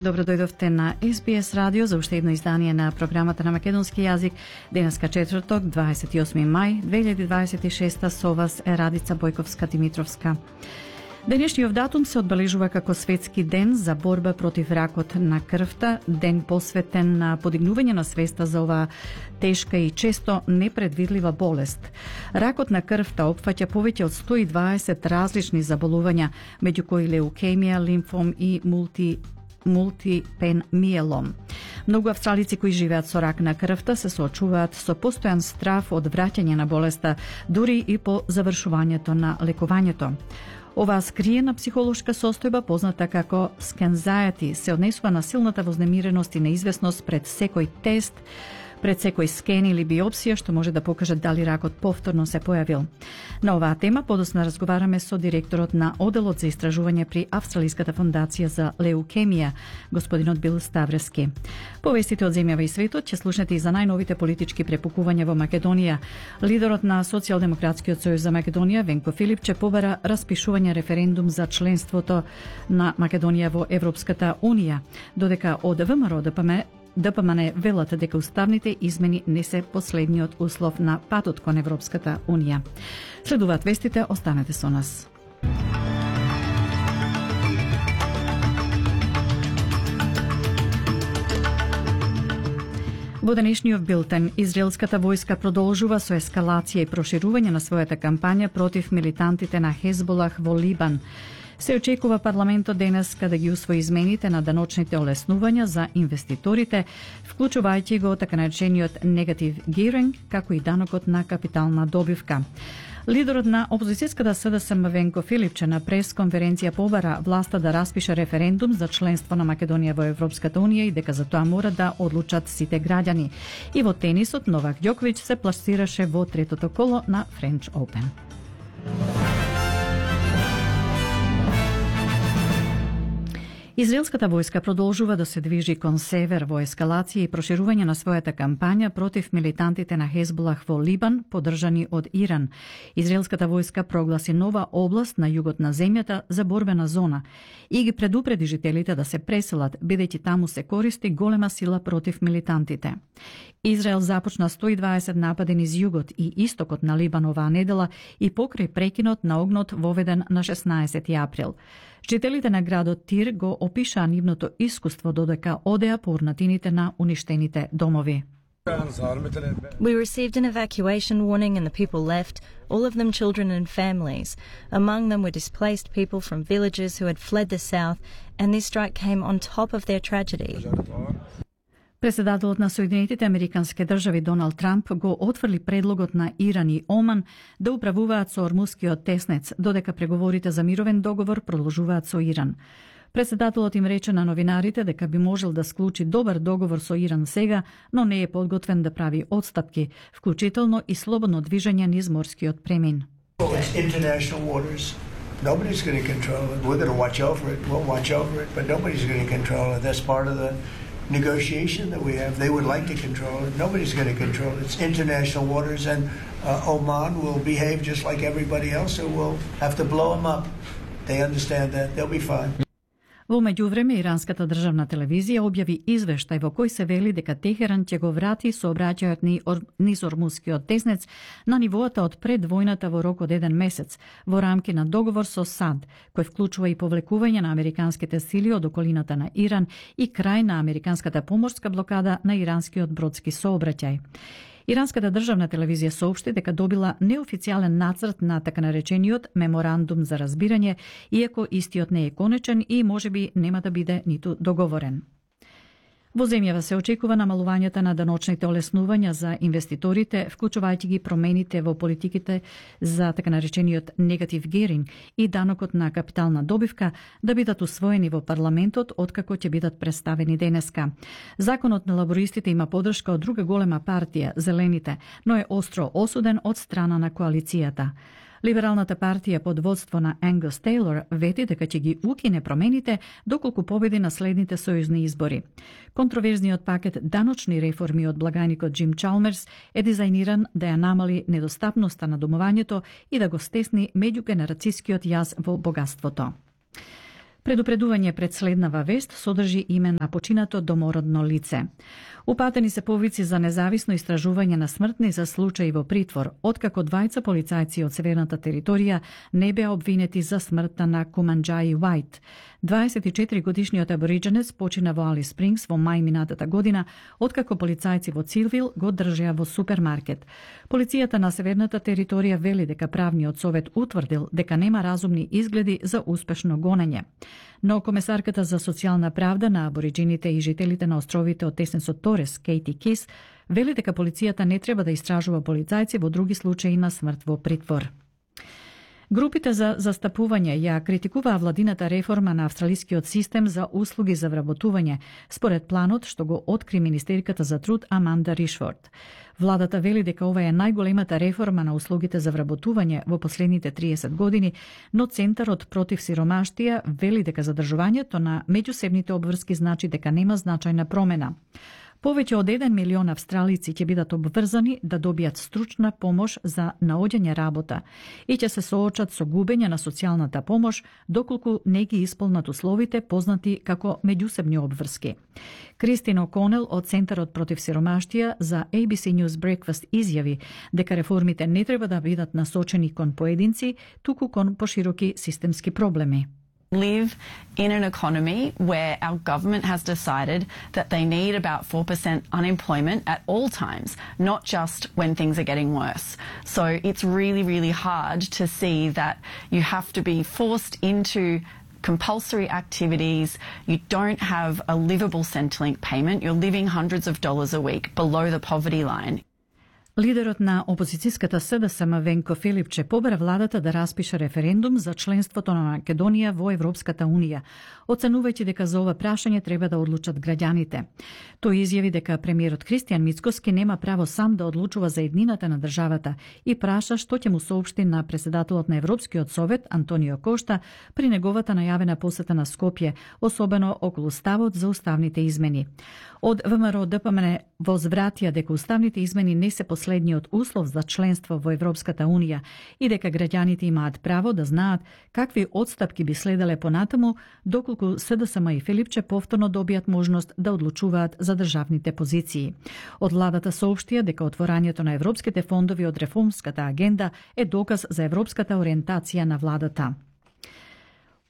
Добро дојдовте на SBS радио за уште едно издание на програмата на македонски јазик. Денеска четврток, 28 мај 2026, со вас е Радица Бојковска-Димитровска. Денешниот датум се одбележува како Светски ден за борба против ракот на крвта, ден посветен на подигнување на свеста за оваа тешка и често непредвидлива болест. Ракот на крвта опфаќа повеќе од 120 различни заболувања, меѓу кои леукемија, лимфом и мултипен миелом. Многу австралици кои живеат со рак на крвта се соочуваат со постојан страв од враќање на болеста, дури и по завршувањето на лекувањето. Оваа скриена психолошка состојба, позната како anxiety, се однесува на силната вознемиреност и неизвестност пред секој тест, пред секој скен или биопсија, што може да покаже дали ракот повторно се појавил. На оваа тема подосна разговараме со директорот на Оделот за истражување при Австралиската фондација за леукемија, господинот Бил Ставрески. Повестите од земјава и светот ќе слушнете и за најновите политички препукувања во Македонија. Лидерот на Социјалдемократскиот сојуз за Македонија, Венко Филипче, побара распишување референдум за членството на Македонија во Европската унија, додека од ВМРО ДПМН велат дека уставните измени не се последниот услов на патот кон Европската унија. Следуваат вестите, останете со нас. Во денешниот билтен, израелската војска продолжува со ескалација и проширување на својата кампања против милитантите на Хезболах во Либан. Се очекува парламентот денеска да ги усвои измените на даночните олеснувања за инвеститорите, вклучувајќи го така наречениот negative gearing, како и данокот на капитална добивка. Лидерот на опозицијската СДСМ Венко Филипче на пресконференција побара власта да распише референдум за членство на Македонија во Европската унија и дека за тоа мора да одлучат сите граѓани. И во тенисот Новак Ѓоковиќ се пласираше во третото коло на French Open. Израелската војска продолжува да се движи кон север во ескалација и проширување на својата кампања против милитантите на Хезболах во Либан, поддржани од Иран. Израелската војска прогласи нова област на југот на земјата за борбена зона и ги предупреди жителите да се преселат, бидејќи таму се користи голема сила против милитантите. Израел започна 120 напади низ југот и истокот на Либан оваа недела и покрај прекинот на огнот воведен на 16 април. Жителите на градот Тир го опишаа нивното искуство додека одеа по урнатините на уништените домови. We received an evacuation warning and the people left, all of them children and families. Among them were displaced people from villages who had fled the south, and this strike came on top of their tragedy. Председателот на Соединетите Американски држави Доналд Трамп го отфрли предлогот на Иран и Оман да управуваат со Ормускиот теснец, додека преговорите за мировен договор продолжуваат со Иран. Председателот им рече на новинарите дека би можел да склучи добар договор со Иран сега, но не е подготвен да прави отстапки, вклучително и слободно движење низ морскиот премин. Nobody's going to control it. We're going to watch over it. We'll watch over it, but nobody's going to control it. That's part of the negotiation that we have. They would like to control it. Nobody's going to control it. It's international waters, and Oman will behave just like everybody else, so we'll have to blow them up. They understand that. They'll be fine. Во меѓувреме, иранската државна телевизија објави извештај во кој се вели дека Техеран ќе го врати сообраќајот низ Ормускиот теснец на нивоата од пред војната во рок од 1 месец, во рамки на договор со САД, кој вклучува и повлекување на американските сили од околината на Иран и крај на американската поморска блокада на иранскиот бродски сообраќај. Иранската државна телевизија соопшти дека добила неофицијален нацрт на така наречениот меморандум за разбирање, иако истиот не е конечен и можеби нема да биде ниту договорен. Во земјава се очекува намалувањето на даночните олеснувања за инвеститорите, вклучувајќи ги промените во политиките за така наречениот negative gearing и данокот на капитална добивка да бидат усвоени во парламентот откако ќе бидат представени денеска. Законот на лабористите има поддршка од друга голема партија, Зелените, но е остро осуден од страна на коалицијата. Либералната партија под водство на Ангус Тейлор вети дека ќе ги укине промените доколку победи на следните сојузни избори. Контроверзниот пакет даночни реформи од благаникот Джим Чалмерс е дизајниран да ја намали недостапноста на домувањето и да го стесни меѓугенерацијскиот јаз во богатството. Предупредување пред следнава вест содржи име на починато домородно лице. Упатени се повици за независно истражување на смртни за случаи во притвор, откако двајца полицајци од северната територија не беа обвинети за смртта на Куманџаи Уајт. 24-годишниот абориџенец почина во Алис Спрингс во мај минатата година, откако полицајци во Цилвил го држеа во супермаркет. Полицијата на северната територија вели дека правниот совет утврдил дека нема разумни изгледи за успешно гонење. Но комесарката за социјална правда на абориџините и жителите на островите од Теснесот Торес, Кейти Кис, вели дека полицијата не треба да истражува полицајци во други случаи на смрт во притвор. Групите за застапување ја критикуваа владината реформа на австралискиот систем за услуги за вработување, според планот што го откри министерката за труд Аманда Ришфорд. Владата вели дека ова е најголемата реформа на услугите за вработување во последните 30 години, но Центарот против сиромаштија вели дека задржувањето на меѓусебните обврски значи дека нема значајна промена. Повеќе од 1 милион австралици ќе бидат обврзани да добијат стручна помош за наоѓање работа и ќе се соочат со губење на социјалната помош доколку не ги исполнат условите познати како меѓусебни обврски. Кристин О'Конел од Центарот против сиромаштија за ABC News Breakfast изјави дека реформите не треба да бидат насочени кон поединци, туку кон пошироки системски проблеми. Live in an economy where our government has decided that they need about 4% unemployment at all times, not just when things are getting worse. So it's really, really hard to see that you have to be forced into compulsory activities, you don't have a livable Centrelink payment, you're living hundreds of dollars a week below the poverty line. Лидерот на опозицијската СДСМ Венко Филипче побара владата да распише референдум за членството на Македонија во Европската Унија, оценувајќи дека за ова прашање треба да одлучат граѓаните. Тој изјави дека премиерот Кристијан Мицкоски нема право сам да одлучува за еднината на државата и праша што ќе му соопшти на председателот на Европскиот совет Антонио Кошта при неговата најавена посета на Скопје, особено околу ставот за уставните измени. Од ВМРО ДПМН возвратија дека уставните измени не се последниот услов за членство во Европската Унија и дека граѓаните имаат право да знаат какви одстапки би следеле понатаму доколку СДСМ и Филипче повторно добијат можност да одлучуваат за државните позиции. Од владата соопштија дека отворањето на европските фондови од реформската агенда е доказ за европската ориентација на владата.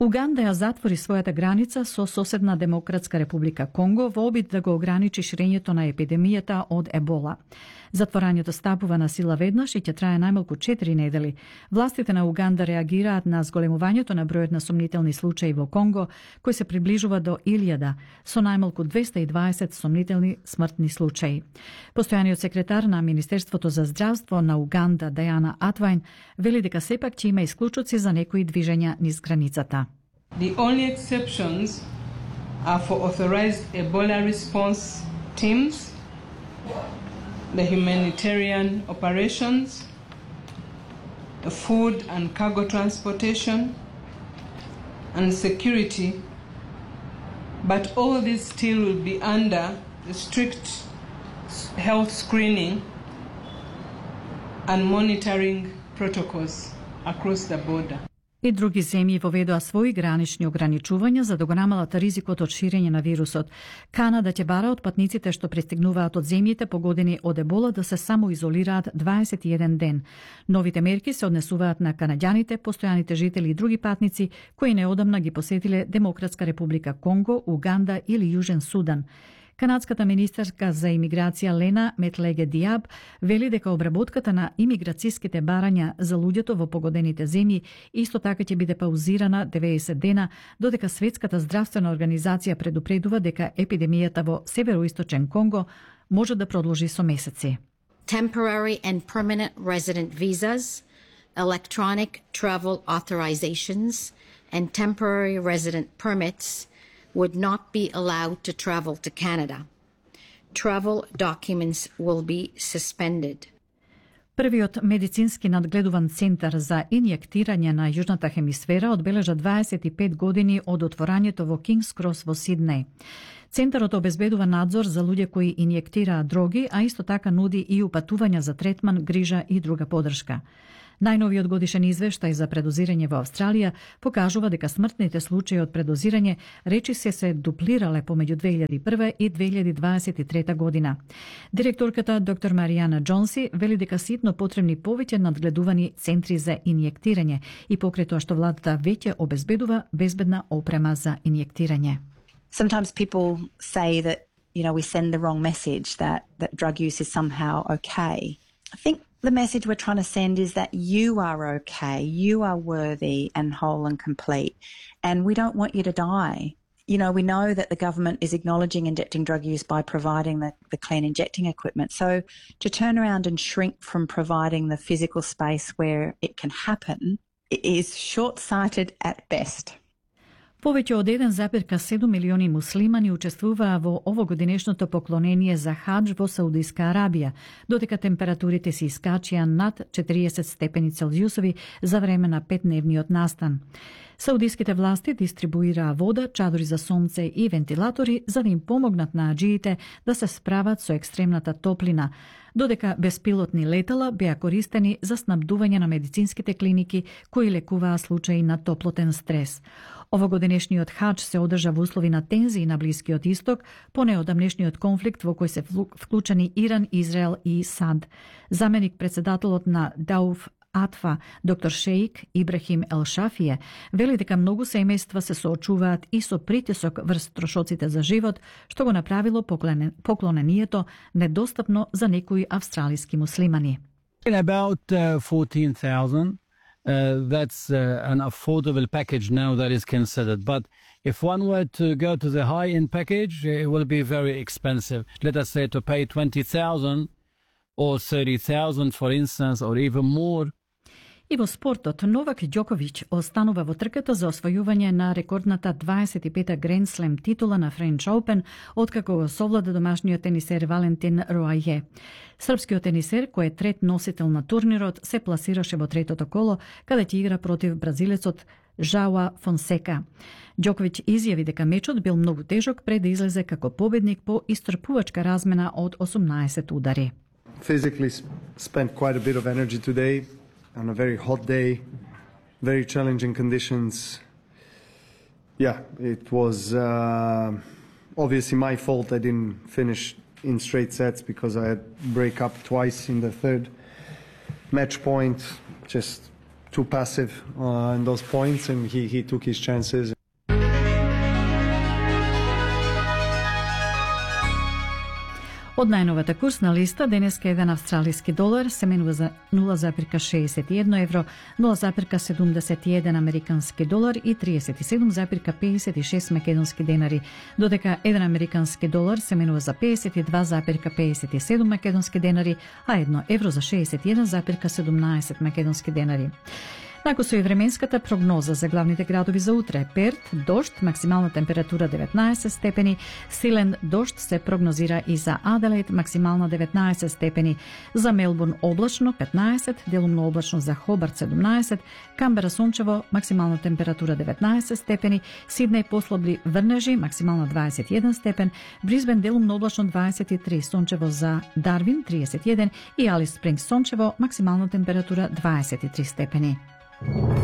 Уганда ја затвори својата граница со соседна Демократска република Конго во обид да го ограничи ширењето на епидемијата од ебола. Затворањето стапува на сила веднаш и ќе трае најмалку 4 недели. Властите на Уганда реагираат на зголемувањето на бројот на сомнителни случаи во Конго, кој се приближува до 1000, со најмалку 220 сомнителни смртни случаи. Постојаниот секретар на Министерството за здравство на Уганда, Дајана Атвајн, вели дека сепак ќе има исклучоци за некои движења низ границата. The only exceptions are for authorized Ebola response teams, the humanitarian operations, the food and cargo transportation, and security. But all this still will be under the strict health screening and monitoring protocols across the border. И други земји воведоа своји гранични ограничувања за да го намалат ризикот од ширење на вирусот. Канада ќе бара од патниците што пристигнуваат од земјите погодени од ебола да се самоизолираат 21 ден. Новите мерки се однесуваат на канаѓаните, постојаните жители и други патници кои неодамна ги посетиле Демократска република Конго, Уганда или Јужен Судан. Канадската министерка за имиграција Лена Метлеге Диаб вели дека обработката на имиграцијските барања за луѓето во погодените земји исто така ќе биде паузирана 90 дена, додека Светската здравствена организација предупредува дека епидемијата во североисточен Конго може да продолжи со месеци. Temporary and permanent resident visas, electronic travel authorizations, and temporary resident permits would not be allowed to travel to Canada. Travel documents will be suspended. Првиот медицински надгледуван центар за инјектирање на јужната хемисфера одбележа 25 години од отворањето во Кингс Крос во Сиднеј. Центарот обезбедува надзор за луѓе кои инјектираат дроги, а исто така нуди и упатувања за третман, грижа и друга поддршка. Најновиот годишен извештај за предозирање во Австралија покажува дека смртните случаи од предозирање речиси се дуплирале помеѓу 2001 и 2023 година. Директорката доктор Маријана Джонси вели дека ситно потребни повеќе надгледувани центри за инјектирање и покрај тоа што владата веќе обезбедува безбедна опрема за инјектирање. Sometimes people say that, we send the wrong message, that drug use is somehow okay. I think the message we're trying to send is that you are okay, you are worthy and whole and complete, and we don't want you to die. We know that the government is acknowledging injecting drug use by providing the clean injecting equipment. So to turn around and shrink from providing the physical space where it can happen is short-sighted at best. Повеќе од 1,7 милиони муслимани учествуваа во овогодинешното поклонение за хадж во Саудиска Арабија, додека температурите се искачија над 40 степени Целзиусови за време на 5-дневниот настан. Саудиските власти дистрибуираа вода, чадори за сонце и вентилатори за да им помогнат на аџиите да се справат со екстремната топлина, додека беспилотни летала беа користени за снабдување на медицинските клиники кои лекуваа случаи на топлотен стрес. Овогодинешниот хадж се одржа во услови на тензии на Блискиот исток по неодамнешниот конфликт во кој се вклучени Иран, Израел и САД. Заменик председателот на Дауф Атфа, доктор Шеик Ибрахим Елшафие, вели дека многу семејства се соочуваат и со притисок врз трошоците за живот, што го направило поклонението недостапно за некои австралиски муслимани. About 14,000. That's an affordable package now that is considered. But if one were to go to the high-end package, it will be very expensive. Let us say to pay 20,000 or 30,000, for instance, or even more. И во спортот, Новак Ѓоковиќ останува во трката за освојување на рекордната 25-та Гранд Слем титула на Френч Оупен, откако го совлада домашниот тенисер Валентин Роаје. Српскиот тенисер, кој е трет носител на турнирот, се пласираше во третото коло, каде ќе игра против бразилецот Жауа Фонсека. Ѓоковиќ изјави дека мечот бил многу тежок пред да излезе како победник по истрпувачка размена од 18 удари. Physically spent quite a bit of energy today. On a very hot day, very challenging conditions. Yeah, it was obviously my fault I didn't finish in straight sets because I had break up twice in the third match point, just too passive in those points, and he took his chances. Од најновата курсна листа, денеска еден австралиски долар се менува за 0,61 евро, 0,71 американски долар и 37,56 македонски денари, додека еден американски долар се менува за 52,57 македонски денари, а 1 евро за 61,17 македонски денари. Нако со и временската прогноза за главните градови за утре: Перт, дожд, максимална температура 19 степени, силен дожд се прогнозира и за Аделаид, максимална 19 степени, за Мелбурн облачно 15, делумно облачно за Хобарт 17, Камбера сончево, максимална температура 19 степени, Сиднеј послабли врнежи, максимална 21 степен, Брисбен делумно облачно 23, сончево за Дарвин 31 и Алис Спрингс сончево, максимална температура 23 степени.